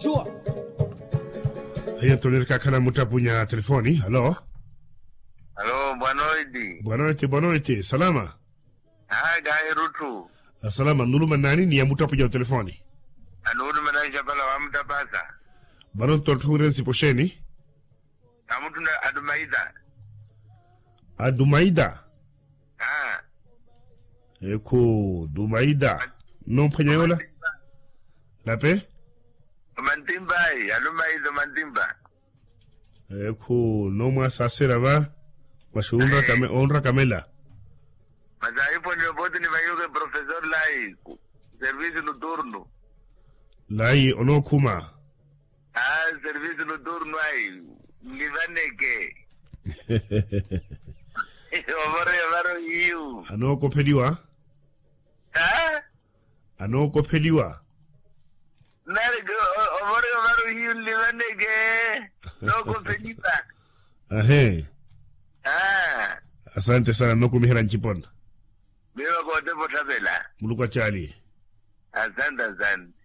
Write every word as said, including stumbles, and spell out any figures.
Shuwa. Aye ntoni rikakhala muttapunya telefoni. Alo. Alo, bwanoiti. Bwanoiti bwanoiti salama. Aa kahirutthu. Salama nuluma nani ni ya muttapunya otelefoni? Anuluma nani xapala wa muttapasa. Vano nto ntthunre nsipo xeeni? Amuttuna adumaida. Adumaida. Ekhu dumaida. Nnomphwanya yoola? Lape. Omantimba ayi alumaida omantimba. Ekhu nnomwasaasera va. Masi onrakamela. Masi ahiphwaniwa pooti nivaiweke profesor layi. Service noturno. Layi onookhuma. Aa service noturno ayi. Nlivaneke. Ovoroya varo hiyu. Anookopheliwa. Aa. Anookopheliwa. Nari ovoroya varo hiyu nlivaneke. Nookopheliwa. Ahe. Aa. Asante sana nnokumiherya ncipona. Miyo vakootepa otthavela. Muluku acaali. Asante asante.